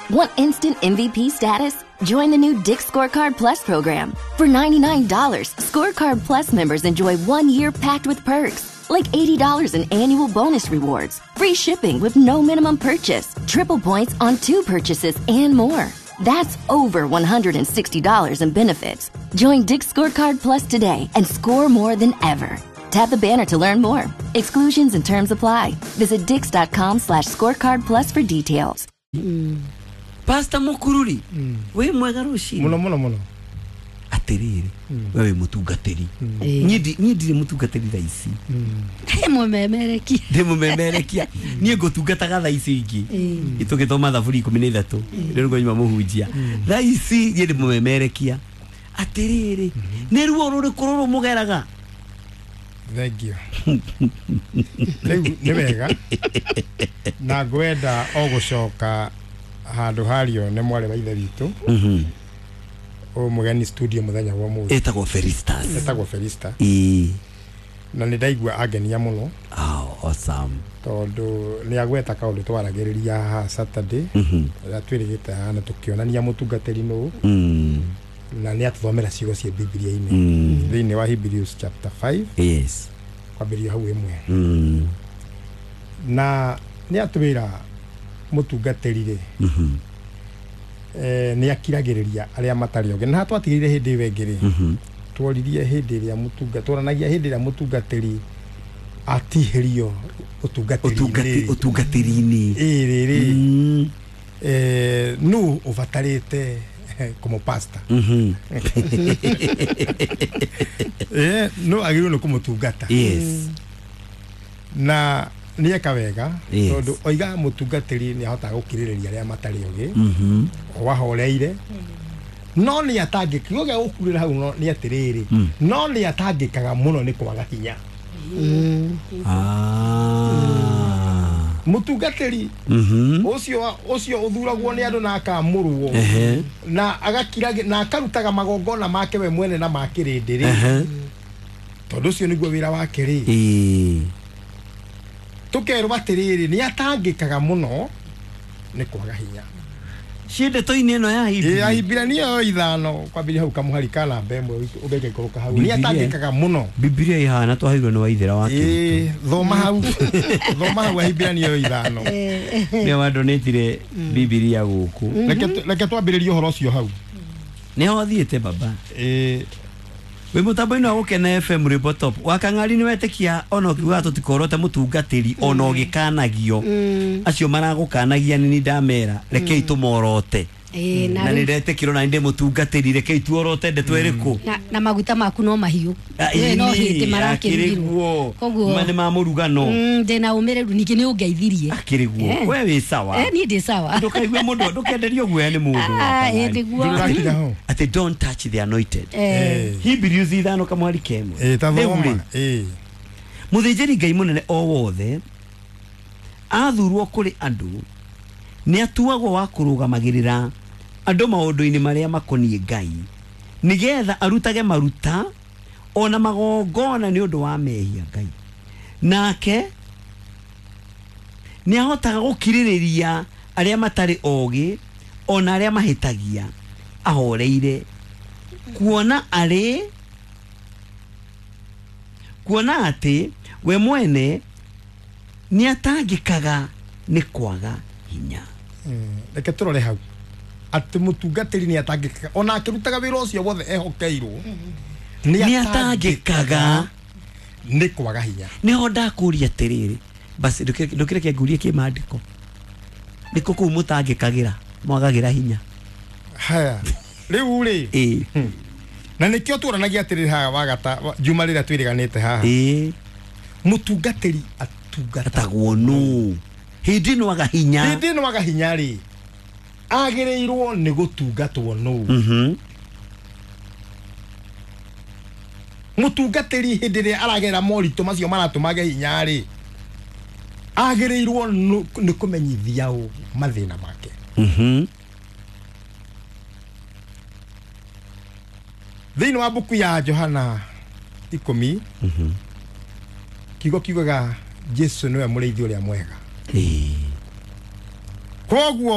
Want instant MVP status? Join the new Dick's Scorecard Plus program. For $99, Scorecard Plus members enjoy 1 year packed with perks, like $80 in annual bonus rewards, free shipping with no minimum purchase, triple points on two purchases, and more. That's over $160 in benefits. Join Dick's Scorecard Plus today and score more than ever. Tap the banner to learn more. Exclusions and terms apply. Visit dix.com/scorecard plus for details. Pastor Mukururi, wĩ mwega rũcinĩ. Muno muno muno. Atĩrĩrĩ, we wĩ mũtungatĩri, niĩ ndirĩ mũtungatĩri thaa ici. Mũmemerekia. Ndĩ mũmemerekia. Niĩ ngũtungataga thaa ici ingĩ tũgĩthoma thaburi 13 rĩu nĩguo nyuma mũhunjia. Thaa ici niĩ ndĩ mũmemerekia. Atĩrĩrĩ, nĩ ruo rũrĩkũ rũrũ mũgeraga? Thank you. Rĩu nĩ wega na ngwenda o gũcoka handũ hario nĩ mwarĩ wa ithe witũ ũyũ mũgeni studio mũthenya wa ũmũthĩ. Ĩtagwo Felistas. Etagwo Felista. Ĩĩ. Na nĩ ndaigua angenia mũno. Oh, awesome. Tondũ nĩ agweta kaũndũ twaragĩrĩria haha Saturday rĩrĩa twĩrĩgĩte haha na tũkĩonania mũtungatĩri nũ, na nĩ atũthomera ciugo ciĩ Bibilia-inĩ thĩinĩ wa Hebrews chapter 5, kwambĩrĩria hau 1. Na nĩ atwĩra mũtungatĩri rĩ, nĩ akiragĩrĩria arĩa matarĩ ogĩ. Na haha twatigĩrire hĩndĩ ĩyo ĩngĩ rĩ, tworirie hĩndĩ ĩrĩa mũtunga tworanagia hĩndĩ ĩrĩa mũtungatĩri atihĩrio ũtungatĩri-inĩ. Ũtungatĩri-inĩ. Ĩrĩ rĩ, nũ ũbatarĩte kũmũpasta? Nũ agĩrĩirwo nĩ kũmũtungata? Na nĩ eka wega, tondũ oiga mũtungatĩri nĩ ahotaga gũkirĩrĩria arĩa matarĩ ogĩ, o ahoreire, no nĩ atangĩka. Kiugo gĩa gũkurĩra hau no nĩ atĩrĩrĩ, no nĩ atangĩkaga mũno nĩ kwaga hinya. Mũtungatĩri ũcio ũthuragwo nĩ andũ na akamũrwo na agakira na akarutaga magongona make we mwene na ma kĩrĩndĩ rĩ, tondũ ũcio nĩguo wĩra wake rĩ, tũkerwo atĩrĩrĩ, nĩ atangĩkaga mũno nĩ kwaga hinya. Ciĩ ndeto-inĩ ĩno ya Ĩ, Ahibirania. Ahibirania ĩyo 5 kwambĩrĩria hau kamũhari ka namba 1 ũgĩkaikũrũka hau, nĩ Bibilia. atangĩkaga mũno. Bibilia ihana twaheirwo nĩ waithĩra wa Kĩrĩtũ. Ĩ, thoma hau, thoma hau Ahibirania ĩyo 5. Nĩwe wandonĩtire Bibilia gũkũ. Reke twambĩrĩrie ũhoro ũcio hau. Nĩho thiĩte baba. Ĩ. Wĩ mũtambo-inĩ wa Gũkena FM, rwĩmbo top wa kang'ari. Nĩ wetĩkia ona ũkiugaga tũtikorote mũtungatĩri ona ũgĩkanagio, acio maragũkanagia nĩ ndamera rekei tũmorote. Ĩĩ, na Na nĩ rĩu- ndetĩkĩrwo na nĩ ndĩ mũtungatĩri, rekei tuorote ndeto ĩrĩkũ. Na maguta maku no mahiũ. We no hĩndĩ marakĩrugirwo. Koguo ma nĩ ma mũrugano. Ndĩna ũmĩrĩru, ningĩ nĩ ũngeithirie. Akĩrĩ guo. We wĩ sawa. Niĩ ndĩ sawa. Ndũkaigue mũndũ, ndũkenderio guoya nĩ mũndũ. Ah, Wakang'ari. ĩ, nĩguo. Ndũrakinya ho. Atĩ don't touch the anointed. Hebrews 5 kamwari kemwe. Ĩ, ta Rĩu thoma. rĩ, Ĩ. Mũthĩnjĩri Ngai mũnene o wothe athurwo kũrĩ andũ nĩ atuagwo wa kũrũgamagĩrĩra andũ maũndũ-inĩ marĩa makoniĩ Ngai, nĩgetha arutage maruta ona magongona nĩ ũndũ wa mehia. Ngai nake nĩ ahotaga gũkirĩrĩria arĩa matarĩ ogĩ ona arĩa mahĩtagia ahoreire, kuona arĩ kuona atĩ we mwene nĩ atangĩkaga nĩ kwaga hinya. Reke tũrore hau atĩ mũtungatĩri nĩ atangĩkaga ona akĩrutaga wĩra ũcio wothe ehokeirwo. Nĩ atangĩkaga nĩ kwaga hinya. Nĩho ndakũria atĩrĩrĩ, basi ndũkĩreke ngurie kĩmandĩko, nĩkũ kũu mũtangĩkagĩra mwagagĩra hinya? Haya, rĩu rĩ, na nĩkĩo tuoranagia atĩrĩrĩ haha wagata juma rĩrĩa twĩrĩganĩte haha, mũtungatĩri atungata atagwo nũ hĩndĩ ĩno aga hinya? Hĩndĩ ĩno aga hinya rĩ, agĩrĩirwo nĩ gũtungatwo nũ? Mũtungatĩri hĩndĩ ĩrĩa aragera moritũ macio maratũma age hinya rĩ, agĩrĩirwo nĩ kũmenyithia ũ mathĩna make? Thĩinĩ wa mbuku ya Johana 10, kiugo kiugaga Jesu nĩwe mũrĩithi ũrĩa mwega. Koguo